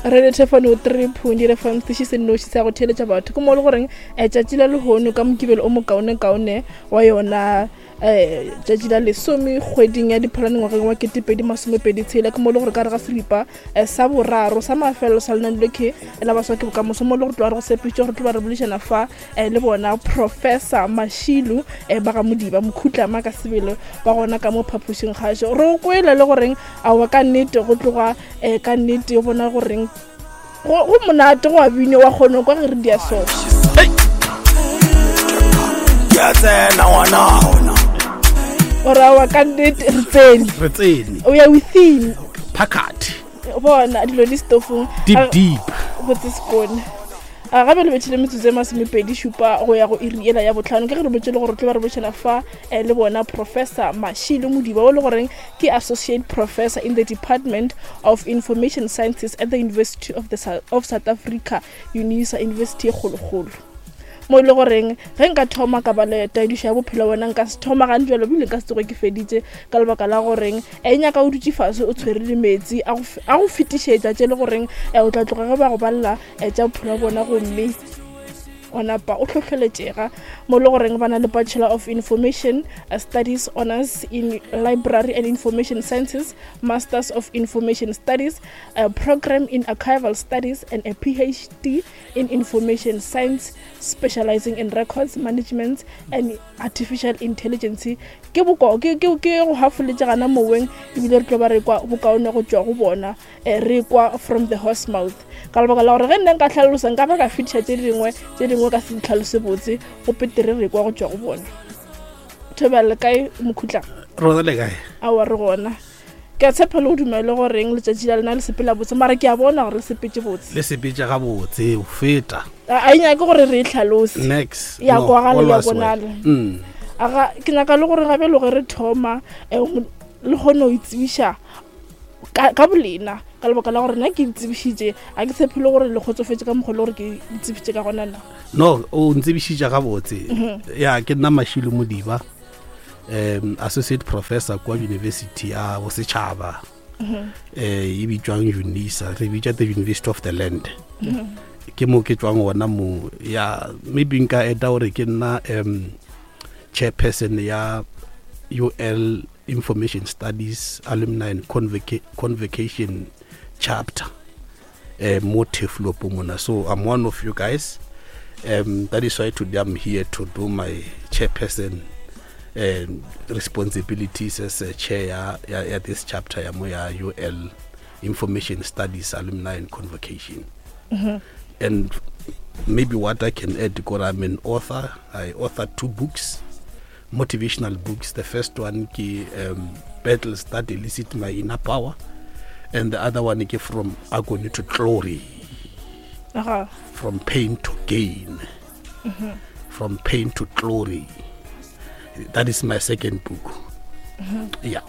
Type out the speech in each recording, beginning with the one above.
Radio Thefano 3.0 FM setiši se nnoši sa go theeletša batho ke mo le goreng eh, tšatši la lehono ka mokibelo o mokaonekaone wa yona um tšatši la lesome kgweding ya diphalane ngwageng wa ketepedi masomepedi tshela ke mo le gore ka re ga seripa eh, sa boraro sa mafelelo sa lenane lekhe la baswa ke bokamoso mo le gore tloa re go sepitše gore tlo ba re boledišana fa eh, le bona professor mashilu eh, ba ga modiba mokhutlama ka sebele ba gona ka mo phapošing kgašo re o kwele le goreng aowa ka nnete go tloga um ka nnete o bona goreng go monate go a bine wa kgone kwa ge re dia so ore aowa ka nnete re tsene re tsene o ya within phakathi bona dilo di stofong deep deep botse sekone a gabe le bethile metsotso e masomepedi šupa go ya go iri ela ya botlhano ke ge re botse le gore tlo ba re botšhela fa eh, le bona professor mashilo modiba o le goreng ke associate professor in the department of information sciences at the university of, the, of south africa unisa university e kgolokgolo mo e le goreng ge nka thoma ka ba le taedišo ya bophelo bona nka se thoma gane jalo bile nka se tsoge ke feditše ka lebaka la goreng e nyaka o dutše fase o tshwere le metsi a go fetišetša tše le goreng eh, o tla tloga ge ba go balela eh, tša bophelo bona gomme wa napa o hlohleletšega mo le goreng ba na le bachelor of information uh, studies honors in library and information sciences masters of information studies a program in archival studies and a phd in information science specializing in records management and artificial intelligence ke boko ke ke ke go hafoletše gana moweng ebile re tlo ba re kwa bokaone go tšwa go bona eh, re kwa from the horse mouth ka lebaka la gore ge nna nka tlhalosa nka ba ka fetiša tše dingwe tše dingwe ka se ditlhalose botse go petere re kwa go tšwa go bona thobela kae mokhutla rona le kae aowa re gona ke a tshepa le go dumele goreng letšatši la lena le sepela botse mara ke a bona gore le sepetse botse le sepetse ga botse o feta a e nyake gore re e tlhalose next ya kwagala ya bonala mm. aga ke nyaka le gore gabe le ge re thoma eh, le kgone go itsebiša ka bolena ka lebaka la gore nna ke itsebišitše a ke tshepe le gore le kgotsofetse ka mokgwa le gore ke itsebišitše ka gona na no o ntsebišitše gabotse mhm. ya ke nna mashilo modiba um associate professor kwa university ya bosetšhaba um e bitswang unisa re bitsa the university of the land mhm. ke mo ke tswang gona mo ya maybe nka eta gore ke nna um chairperson ya ul information studies alumni and convoca convocation chapter uh, mo Turfloop mona so i'm one of you guys um, that is why today i'm here to do my chairperson um, responsibilities as a chair ya, ya, ya this chapter ya mo ya ul information studies alumni and convocation mm -hmm. and maybe what i can add because i'm an author i authored two books motivational books the first one ke um, battles that elicit my inner power and the other one ke from agony to glory uh -huh. from pain to gain mm -hmm. from pain to glory that is my second book mm -hmm. yeah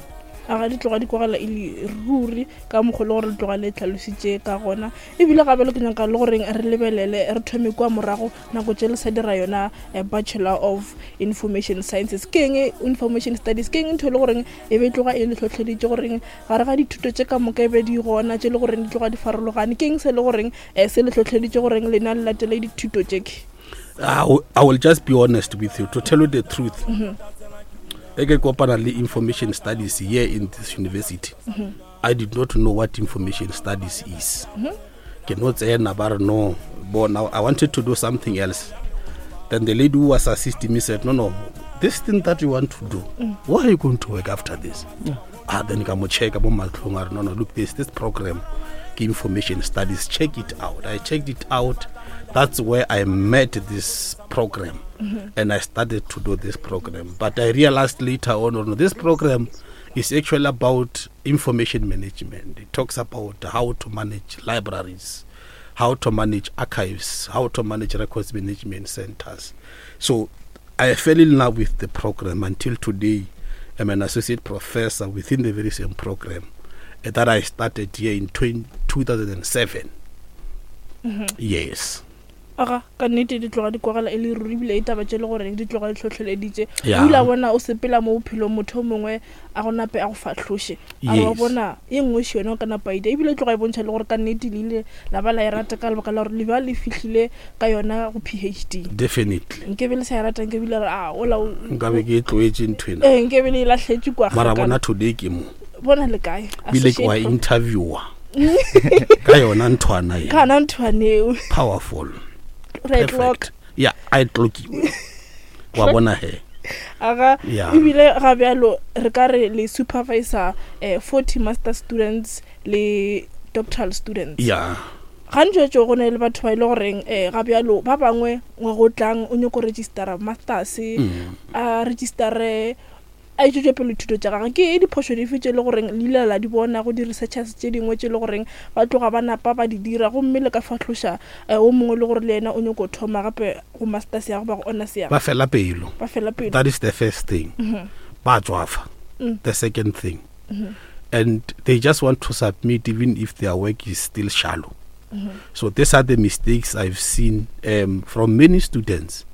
a ga di tloga di kwagala e le ruri ka mokgwa le gore le tloga le tlhalositše ka gona ebile gape le ke nyaka le goreng re lebelele re thome kua morago nako tše le sa dira yona eh, bachelor of information sciences ke eng information studies ke eng ntho e le goreng e be e tloga e le tlhotlheleditše goreng gare ga dithuto tše ka moka e be di gona tše le goreng di tloga di farologane ke eng se le goreng um se le tlhotlheleditše goreng lena le latele dithuto tše ke I will just be honest with you to tell you the truth mm -hmm. e ke kopana le information studies here in this university mm -hmm. i did not know what information studies is mm -hmm. ke no tsena ba re no bona i wanted to do something else then the lady who was assisting me said no no this thing that you want to do mm. why are you going to work after this yeah. ah then ka mo checka mo matlhong a re no no look this this program ke information studies check it out i checked it out that's where i met this program mm -hmm. and i started to do this program but i realized later on no, this program is actually about information management. It talks about how to manage libraries, how to manage archives, how to manage records management centers. So I fell in love with the program until today. I'm an associate professor within the very same program that I started here in 2007. Mm -hmm. Yes. Aga, ka nnete di tloga di kwagala e le ruri ebile e taba tše le goreng di tloga di hlohleleditše. Yeah. O ile a bona o sepela mo bophelong motho o mongwe a go nape a go fahloše. A re wa Yes. bona ye nngwe še yona o ka napa ida ebile e tloga e bontšha le gore ka nnete le ile la ba la e rata ka lebaka la gore le ba le fihlile ka yona go PhD. Definitely. Nkebe le sa e rata nkebe le re a ola o Nkabe ke e tloetše ntho ena. ee nkebe le e lahletše kwa Mara kgakala. bona today ke mo. Bona le kae? Bile ke wa Associate prof- interviewer. Ka yona nthwana e. Ka yona nthwana eo. Powerful. Ra e clock. Perfect. Yeah, a e clockiwe. Wa bona he. Aga Yeah. ebile ga bjalo re ka re le supervisor 40 master students le doctoral students. Yeah. Gantši tšo go ne le batho ba ile goreng ga bjalo ba bangwe ngwaga o tlang o nyako registera masters a registere a itšwetše pele thuto tša gagwe. Ke diphošo dife tše le goreng le ile la di bona go di-researchers tše dingwe tše le goreng ba tloga ba napa ba di dira gomme le ka fahloša o mongwe le gore le yena o nyako thoma gape go masters ya goba go honors ya Ba fela pelo. Ba fela pelo. That is the first thing. Ba tswafa. The second thing. And they just want to submit even if their work is still shallow. So these are the mistakes I've seen from many students.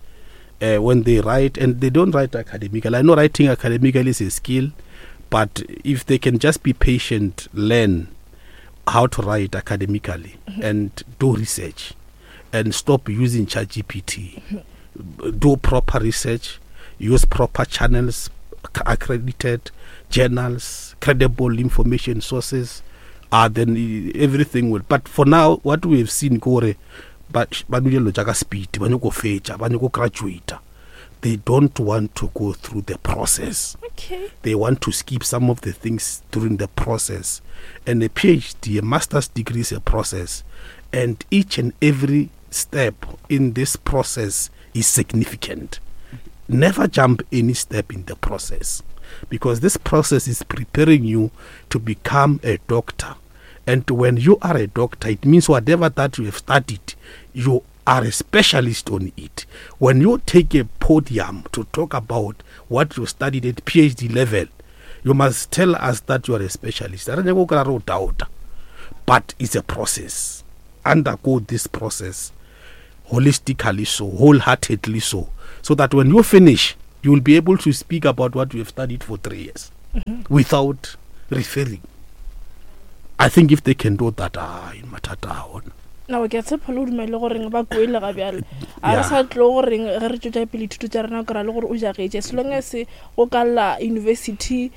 When they write, and they don't write academically. I know writing academically is a skill, but if they can just be patient, learn how to write academically and do research and stop using ChatGPT. Do proper research, use proper channels, accredited journals, credible information sources, then everything will. But for now, what we have seen, Kore, ba ba dilo tša ka speed, ba nyako fetša, ba nyako graduate. They don't want to go through the process. Okay. They want to skip some of the things during the process. And a PhD, a master's degree is a process. And each and every step in this process is significant. Never jump any step in the process, because this process is preparing you to become a doctor. And when you are a doctor, it means whatever that you have studied, you are a specialist on it. When you take a podium to talk about what you studied at PhD level, you must tell us that you are a specialist. But it's a process. Undergo this process holistically so, wholeheartedly so, so that when you finish, you will be able to speak about what you have studied for 3 years without referring. I think if they can do that, in mathata a ona. Nao ke a tshepa le o dumele goreng ba kwele ga bjale. A re sa tlo goreng ge re tšwetša pele dithuto tša rena, o kry-a le gore o jagetše. As long as go ka lla university,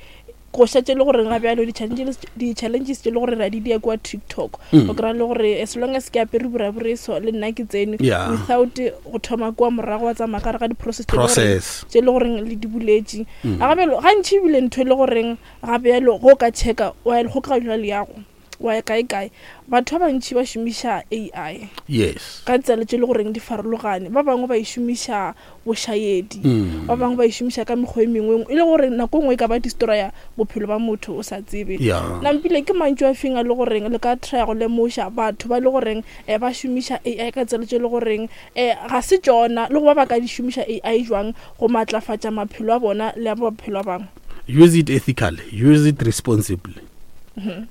go šetše le goreng ga bjalo di-challenges tše le gore re a di dia kua TikTok. O kry-a le gore as long as ke apere burabure so le nna ke tsene without go thoma kua morago wa tsamaya ka gare ga di-process tše le goreng Process. tše le goreng le di buletše. A ga bjalo, gantši ebile ntho e le goreng ga bjalo go ka checka, wa ya kgokaganywa leago, wa ya kae kae, batho ba bantši ba šomiša AI. Yes. Ka tsela tše le goreng di farologane. Ba bangwe ba e šomiša bošaedi, ba bangwe ba e šomiša ka mekgwa e mengwe, e le gore nako nngwe e ka ba destroya bophelo ba motho o sa tsebe. Nampile ke mantšu a feng a le goreng le ka try go lemoša batho ba le goreng ba šomiša AI ka tsela tše le goreng ga se tšona, le go ba ba ka di šomiša AI jwang go matlafatša maphelo a bona le a maphelo a bangwe? Use it ethically, use it responsibly.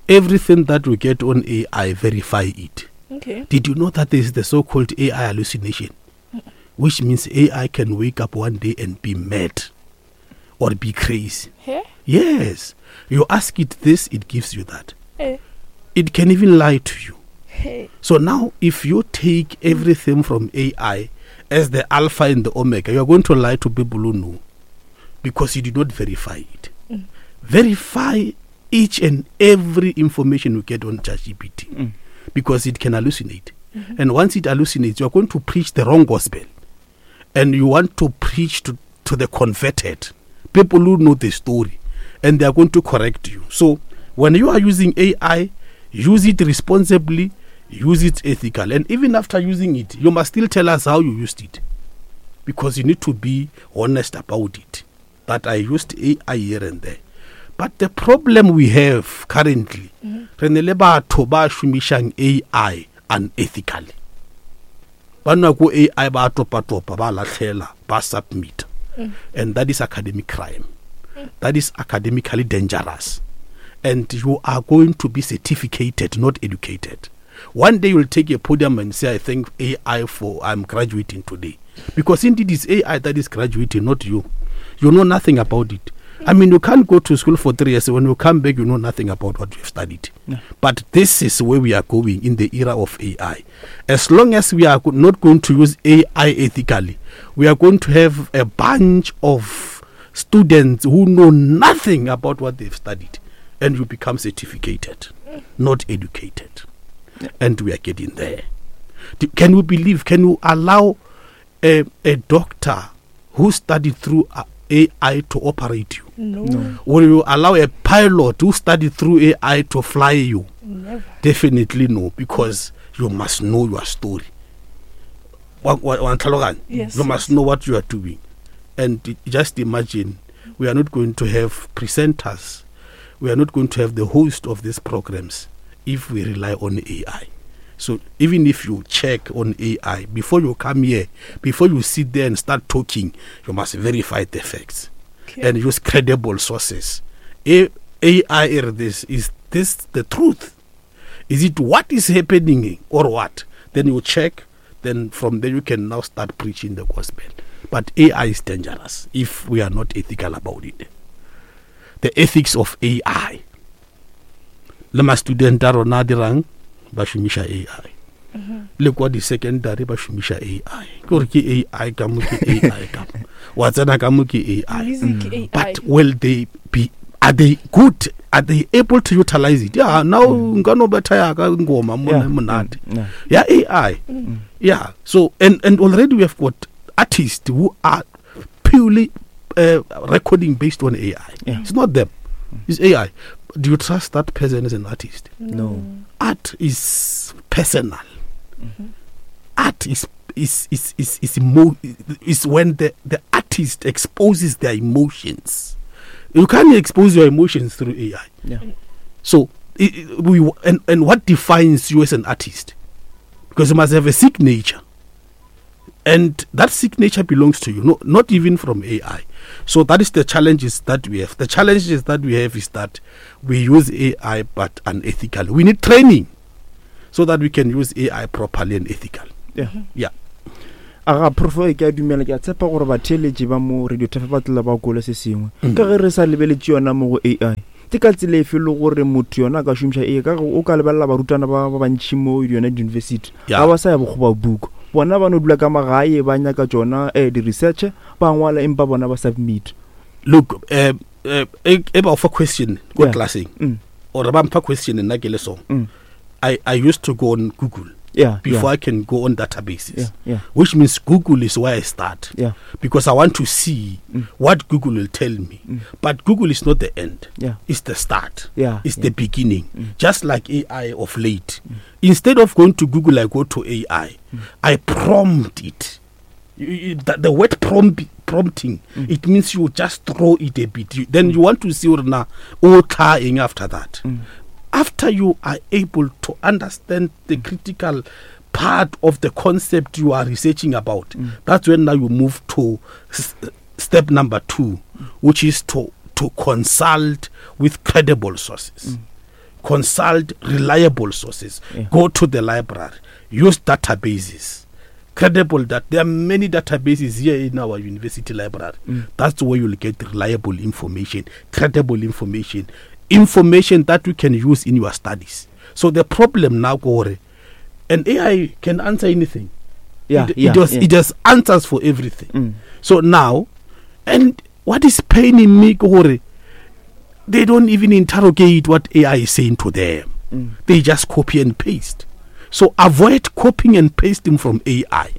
Everything that you get on AI, verify it. Okay. Did you know that there is the so-called AI hallucination? Which means AI can wake up one day and be mad or be crazy. He? Yes. You ask it this, it gives you that. Eh. It can even lie to you. Hey. So now, if you take everything from AI as the alpha and the omega, you are going to lie to people who know, because you did not verify it. Verify each and every information you get on ChatGPT, because it can hallucinate. And once it hallucinates, you are going to preach the wrong gospel. And you want to preach to the converted, people who know the story, and they are going to correct you. So when you are using AI, use it responsibly, use it ethically. And even after using it, you must still tell us how you used it, because you need to be honest about it, that I used AI here and there. But the problem we have currently, re ne le batho ba šomišang AI unethically. Ba nwa ko AI ba topa-topa, ba lahlela, ba submit. And that is academic crime. That is academically dangerous. And you are going to be certificated, not educated. One day you'll take a podium and say, I thank AI for I'm graduating today. Because indeed it's AI that is graduating, not you. You know nothing about it. I mean, you can't go to school for 3 years. When you come back, you know nothing about what you've studied. Yeah. But this is where we are going in the era of AI. As long as we are not going to use AI ethically, we are going to have a bunch of students who know nothing about what they've studied, and you become certificated, not educated. Yeah. And we are getting there. Can you believe, can you allow a doctor who studied through AI to operate you? No. No. Will you allow a pilot who studied through AI to fly you? Never. Definitely no, because you must know your story. Wa ntlhaloganya? Yes, You must yes. know what you are doing. And just imagine, we are not going to have presenters. We are not going to have the host of these programs if we rely on AI. So even if you check on AI, before you come here, before you sit there and start talking, you must verify the facts. Okay. And use credible sources. AI is this, is this the truth? Is it what is happening or what? Then you check, then from there you can now start preaching the gospel. But AI is dangerous if we are not ethical about it. The ethics of AI. Le ma student a rona a dirang, ba šomiša AI. Le kwa di-secondary ba šomiša AI. Ke gore ke AI ka mo, ke AI ka mo. Wa tsena ka mo ke AI. Music, AI. But will they be, are they good? Are they able to utilize it? Yeah, now nka no betha ya ka ngoma mo Yeah. monate. Yeah. Yeah, AI. Yeah. So, and already we have got artists who are purely recording based on AI. Yeah. It's not them. It's AI. Do you trust that person as an artist? No. Art is personal. Art is when the artist exposes their emotions. You can't expose your emotions through AI. Yeah. So it, we and what defines you as an artist? Because you must have a signature. And that signature belongs to you, no, not even from AI. So that is the challenges that we have. The challenges that we have is that we use AI but unethically. We need training so that we can use AI properly and ethically. Yeah. Yeah. Aga prof, e ke a dumela, ke a tshepa gore batheeletši ba mo Radio Tafe ba tlela ba kole se sengwe. Ka ge re sa lebeletše yona mo go AI, ke ka tsela efe le gore motho yona a ka šomiša AI? Ka ge o ka lebelela barutwana ba bantši mo yona di-university, Yeah. ga ba sa ya bokgoba buku, bona ba no dula ka magae ba nyaka tšona di-research, ba ngwala empa bona ba submit. Look, e ba o fa question ko Yeah. classeng, Mm. or ba mpha question nna ke le song. Mm. I used to go on Google Yeah, before yeah. I can go on databases. Yeah, yeah. Which means Google is where I start. Yeah. Because I want to see Mm. what Google will tell me. Mm. But Google is not the end. Yeah. It's the start. Yeah, It's yeah. the beginning. Mm. Just like AI of late. Instead of going to Google, I go to AI. Mm. I prompt it. The word prompting, Mm. it means you just throw it a bit. Then you want to see now, oh, trying after that. Mm. After you are able to understand the critical part of the concept you are researching about, Mm. that's when now you move to step number 2, which is to consult with credible sources. Mm. Consult reliable sources. Yeah. Go to the library. Use databases. Credible that there are many databases here in our university library. Mm. That's where you'll get reliable information, credible information, information that you can use in your studies. So the problem now, Gore, and AI can answer anything. Yeah, It yeah, yeah. just answers for everything. Mm. So now, and what is paining me, Gore, they don't even interrogate what AI is saying to them. Mm. They just copy and paste. So avoid copying and pasting from AI.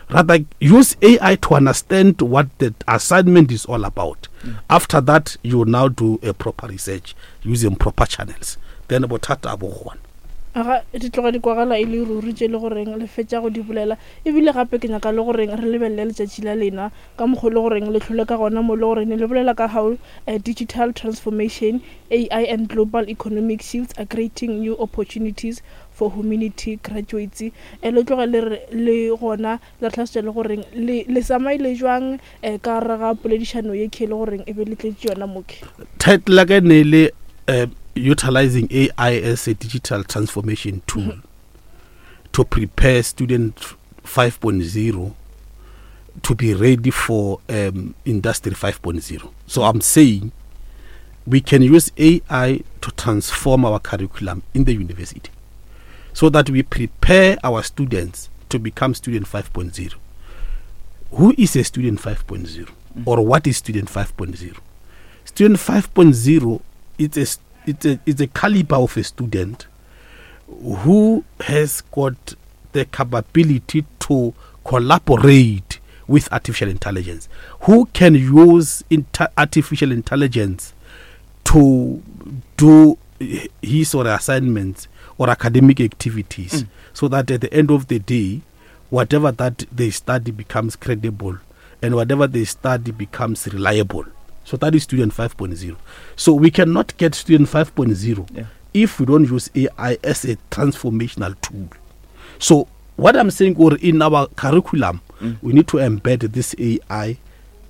Rather, use AI to understand what the assignment is all about. Mm. After that, you now do a proper research using proper channels. Then bothata bo gona. Aga di tloga di kwagala e le ruri tše le goreng le fetša go di bolela. Ebile gape ke nyaka le goreng re lebelele letšatši la lena ka mokgwa le goreng le hlole ka gona mo le goreng le bolela ka how digital transformation, AI and global economic shifts are creating new opportunities for humanity graduates. Le tloge le re, le gona la tlhalosetša le goreng le tsamaile jwang ka gare ga poledišano ye ke le goreng e be le tletše yona moke. Title ya ka e ne le utilizing AI as a digital transformation tool. Mm-hmm. to prepare student 5.0 to be ready for um, industry 5.0. So I'm saying we can use AI to transform our curriculum in the university so that we prepare our students to become student 5.0. Who is a student 5.0 mm. or what is student 5.0? Student 5.0 it's a, it's a, it's a caliber of a student who has got the capability to collaborate with artificial intelligence, who can use artificial intelligence to do his or her assignments or academic activities mm. so that at the end of the day, whatever that they study becomes credible and whatever they study becomes reliable. So that is student 5.0. So we cannot get student 5.0 yeah. if we don't use AI as a transformational tool. So what I'm saying, or in our curriculum, mm. we need to embed this AI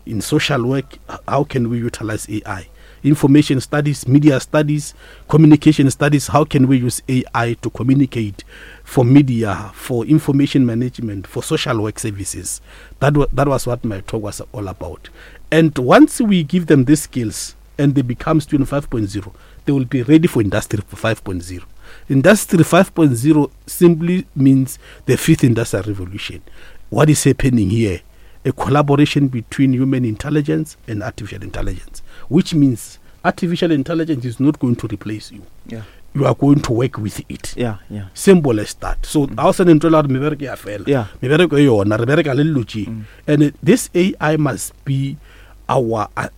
in social work. How can we utilize AI? Information studies, media studies, communication studies. How can we use AI to communicate for media, for information management, for social work services? That, that was what my talk was all about. And once we give them these skills and they become student 5.0, they will be ready for industry 5.0. Industry 5.0 simply means the fifth industrial revolution. What is happening here? A collaboration between human intelligence and artificial intelligence, which means artificial intelligence is not going to replace you. Yeah. You are going to work with it. Yeah, yeah. Simple as that. So mm. ga o ntho la gore mebereko ya fela. Yeah. Mebereko e yona re bereka le dilo tše. Mm. And this AI must be our uh,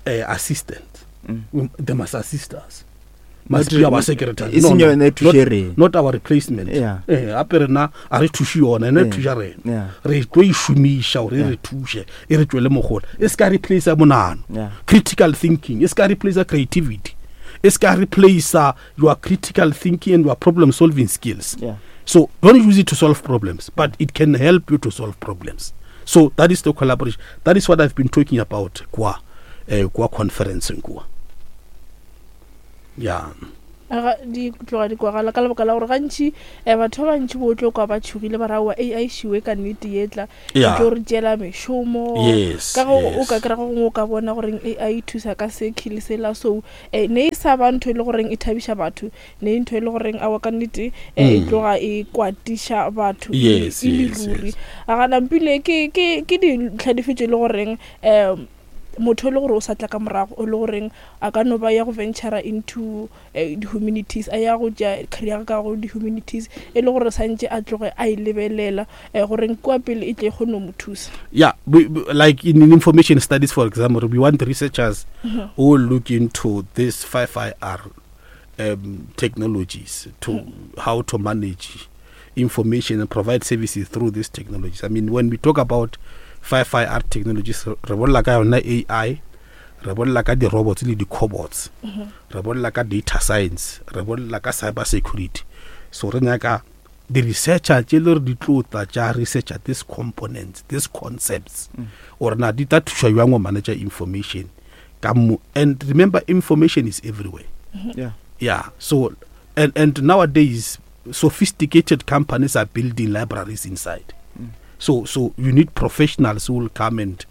uh, assistant. Mm. They must assist us. must be our secretary e seng yone e thuše rena not our replacement eh gape rena a re thuše yona ene e thuša rena re tlo e šomiša gore e re thuše e re tšwele mogola e se ka replace monano critical thinking e se ka replace creativity e se ka replace your critical thinking and your problem solving skills yeah. so don't use it to solve problems but it can help you to solve problems so that is the collaboration that is what i've been talking about kwa eh, kwa conference kwa ya Aga di tloga di kwagala ka lebaka la gore gantši um batho ba bantši bo tlo kwa ba tšhogile ba ra oa ai šiwe ka nnete ye tla e tlo re tšeela mešomo yes, ka go yes. o ka kry-a go gongwe o ka bona goreng ai e thusa ka se kile sela so um ne e sa ba ntho e le goreng e thabiša batho ne e ntho e le goreng aowa ka nnete um e mm. tloga e kwatiša batho e yes, e le yes, ruri yes. a ga nampile ke ke ke dintlha dife tše e le goreng um motho e le gore o sa tla ka morago o le goreng a ka no ba ya go ventura into eh, di-humanities a ya go tša career ka go di-humanities e le gore santše a tloge a e lebelela eh, goreng kua pele e tle e kgone go mo thusa yeah we, we, like in, in information studies for example we want researchers mm -hmm. who look into this 5ir um, technologies to mm -hmm. how to manage information and provide services through these technologies i mean when we talk about 5ir technologies re bolela ka yona ai re bolela ka di-robots le di-cobots mhm. re bolela ka data science re bolela ka cyber security so re nyaka di-researcher tše le gore di tlo tla tša researcher these components these concepts mm. or na di tla thuša jang go manager information ka mo and remember information is everywhere mm-hmm. yeah yeah so and and nowadays sophisticated companies are building libraries inside mm. so so you need professionals who will come and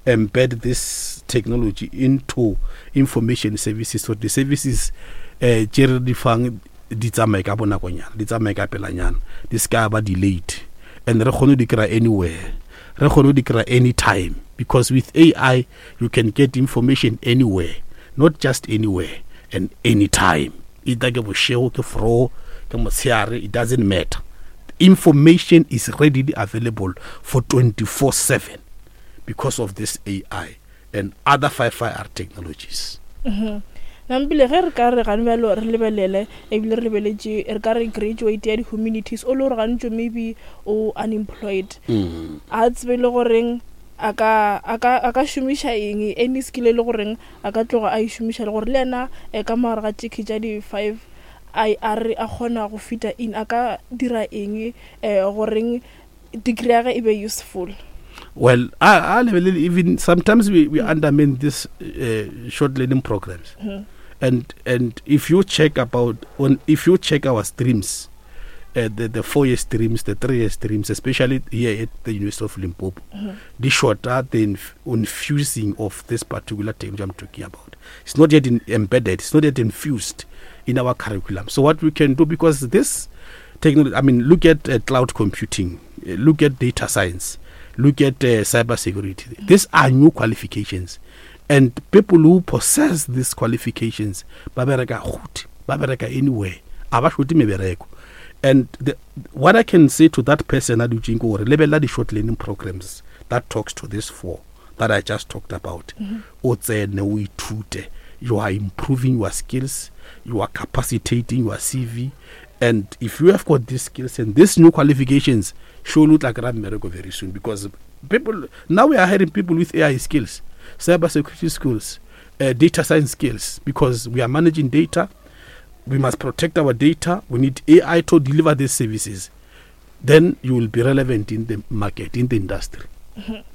embed this technology into information services so the services eh tše re di fang di tsamaye ka bonakonyana di tsamaye ka pelanyana di se ka ba delayed and re kgone di kry anywhere re kgone di kry anytime because with ai you can get information anywhere not just anywhere and anytime either ke bošego ke fro ke motshehare it doesn't matter information is readily available for 24 7 because of this ai and other 5ir technologies mm -hmm. Nampile ge re ka re gane bjalo re lebelele ebile re lebeletše re ka re graduate ya di-humanities o le gore gantšo maybe o unemployed mm. a tsebe le goreng a ka a ka a ka šomiša eng any skill e le goreng a ka tloga a e šomiša le gore le yena eh, ka mogare ga tšekhe tša di-five a a re a kgona go fita in a ka dira eng um goreng degree ya ge e be useful well I, I lebelele even sometimes we, we undermine this uh, short learning programs mm -hmm. and and if you check about on if you check our streams the, the 4-year streams, the 3-year streams, especially here at the University of Limpopo, di shorter the infusing of this particular technology I'm talking about. It's not yet embedded, it's not yet infused in our curriculum. So what we can do, because this technology, I mean, look at cloud computing, look at data science, look at cyber security. These are new qualifications. And people who possess these qualifications, ba bereka gote, ba bereka anywhere, a ba shote mebereko. And what I can say to that person a dutseng ke gore lebelela di-short learning programs that talks to this 4 that I just talked about. O tsene, o ithute. You are improving your skills, you are capacitating your CV, and if you have got these skills and these new qualifications, surely o tla kry-a mmereko very soon, because now we are hiring people with AI skills, cyber security skills, data science skills, because we are managing data. We must protect our data. We need AI to deliver these services. Then you will be relevant in the market, in the industry.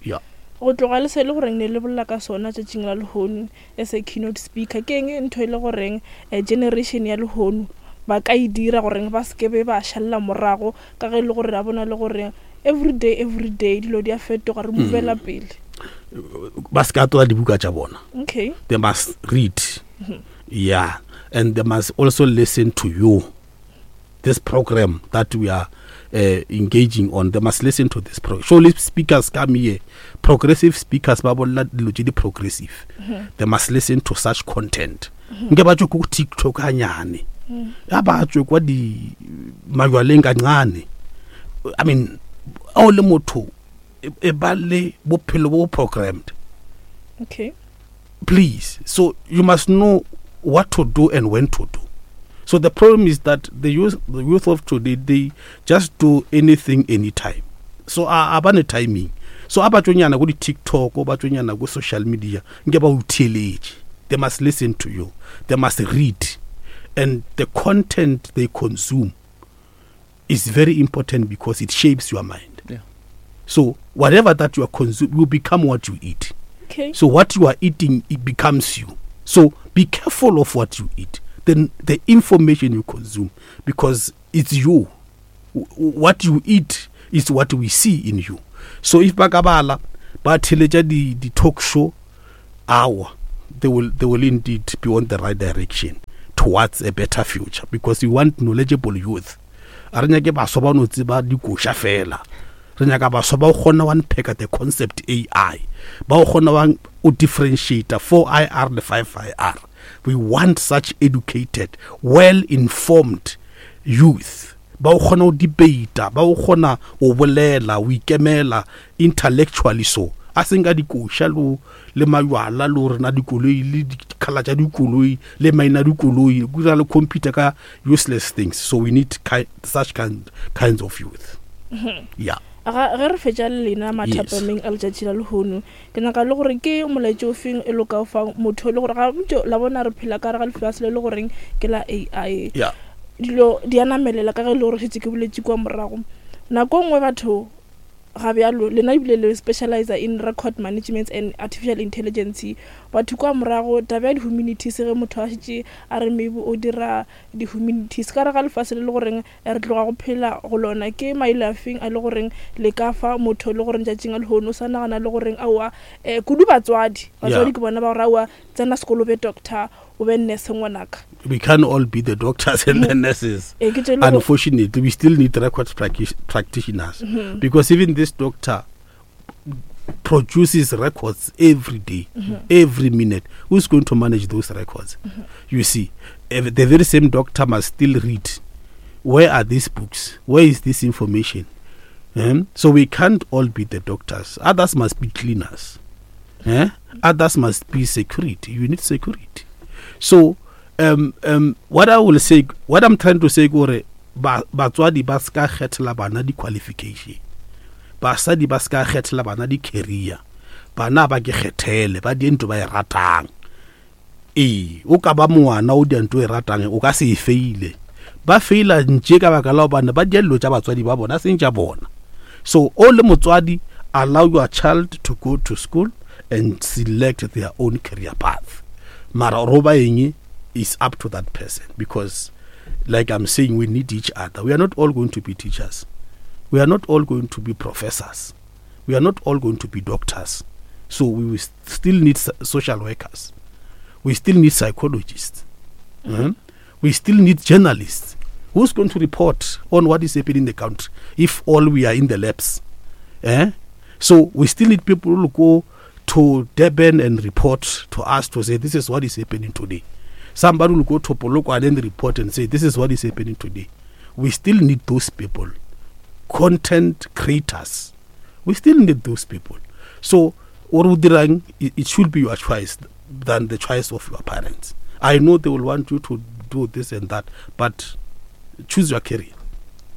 Yeah. Go tloga le se le goreng ne le bolela ka sona tšatšing la lehono as a keynote speaker, ke eng ntho e le goreng, generation ya lehono ba ka e dira goreng ba se ke be ba šalela morago, ka ge e le gore ra bona le gore every day, every day dilo di a fetoga, re movela pele. Ba se ka tlola dibuka tša bona. They must read. Yeah. And they must also listen to you. This program that we are engaging on, they must listen to this program. Surely speakers come here, progressive speakers, ba bolela dilo tse di progressive. They must listen to such content. Nke ba tswe ko TikTok hanyane. Ya ba tswe kwa di majwaleng kancane. I mean, o le motho e ba le bophelo bo programmed. Please. So you must know what to do and when to do. So the problem is that the youth of today, they just do anything anytime. So a ba ne timing. So a ba tsonyana go di TikTok, ba tsonyana go social media, nke ba o theeletše. They must listen to you. They must read. And the content they consume is very important because it shapes your mind. So whatever that you are consuming, you become what you eat. So what you are eating, it becomes you. So be careful of what you eat, the information you consume, because it's you. What you eat is what we see in you. So if ba ka bala, ba theletša di talk show, awa, they will indeed be on the right direction towards a better future, because we want knowledgeable youth. A re nyake baswa ba no tseba dikoša fela. Re nyaka baswa ba o kgona wa unpack the concept AI, ba o kgona wa o differentiate 4IR le 5IR. We want such educated, well-informed youth. Ba o kgona ho debate, ba o kgona ho bolela, ho ikemela intellectually. So a seng ka dikoša le majwala le hore na dikoloi le dikhala tša dikoloi le maina a dikoloi, go dira le computer ka useless things. So we need such kinds of youth. Yeah. Ga, ge re fetša le lena mathapameng a letšatši la lehono, ke nyaka le gore ke molaetša o feng e le ka o fang motho e le gore ga ntše la bona re phela ka gare ga lefase le le goreng ke la AI. Dilo di a namelela ka ge e le gore šetše ke boletše kua morago. Nako nngwe batho ga bjalo, lena ebile le specializer in record management and artificial intelligence. Batho kua morago, taba ya di-humanities, ge motho a šetše a re maybe o dira di-humanities, ka gare ga lefase le le goreng re tloga go phela go lona, ke maele a feng a le goreng le ka fa motho le goreng tšatšing a lehono o sa nagana le goreng aowa, kudu batswadi. Batswadi ke bona ba gore aowa, tsena sekolo o be doctor, o be nurse ngwanaka. We can't all be the doctors and the nurses. Ke tše le go Unfortunately, we still need record practitioners. Because even this doctor produces records every day, every minute. Who's going to manage those records? You see, the very same doctor must still read. Where are these books? Where is this information? So we can't all be the doctors. Others must be cleaners. Others must be security. You need security. So what I will say, what I'm trying to say, gore batswadi ba ska kgethela bana di-qualification, basadi ba ska kgethela bana di-career, bana ba ke kgethele, ba die ntho ba e ratang. Ee, o ka ba ngwana o dia ntho e ratang, o ka se e faile. Ba faila ntše ka baka la hobane ba dia dilo tša batswadi ba bona, seng tša bona. So o le motswadi, allow your child to go to school and select their own career path. Mara ro ba eng is up to that person, because like I'm saying, we need each other. We are not all going to be teachers. We are not all going to be professors. We are not all going to be doctors. So we will still need social workers. We still need psychologists. Mm-hmm. We still need journalists. Who's going to report on what is happening in the country if all we are in the labs? Eh? So we still need people who go to Durban and report to us to say this is what is happening today. Somebody will go to Polokwane and report and say this is what is happening today. We still need those people. Content creators. We still need those people. So what it should be your choice than the choice of your parents. I know they will want you to do this and that, but choose your career.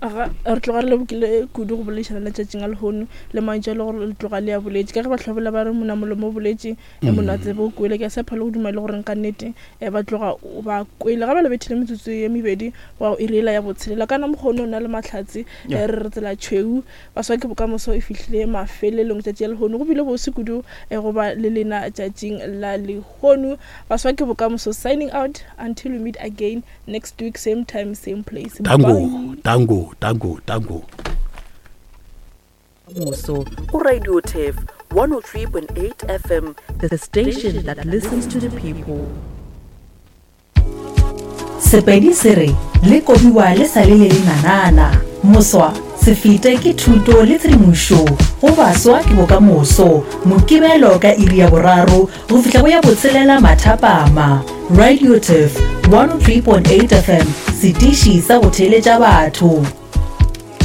Aga re tloga re lebokile kudu go boledišana letšatšing a lehono le mantšu a le gore le tloga le ya boletše ka ge ba tlhobola ba re mona molomo o boletše e mona tsebe o kwele. Ke a tshepa le go duma le goreng ka nnete um ba tloga ba kwele ga ba le bethile metsotso ye mebedi wa iri ela ya botshelela. Kana mokgone o na le mahlatse re re tsela tšhweu baswa ke bokamoso e fihlile mafelelong tšatši ya lehono. Go bile bose kudu go ba le lena tšatšing la lehono. Baswa ke bokamoso signing out until we meet again next week, same time, same place. Tango, tango, tango, tango. Moso go Radio Turf 103.8 FM, the station that listens to the people. Sepedi se re le kobiwa le sa le le lenanana. Moswa se fete ke thuto le tshedimošo go baswa ke bokamoso. Mokibelo ka iri ya boraro go fihla go ya botshelela mathapama. Radio Turf 103.8 FM, setiši sa go theeletša batho.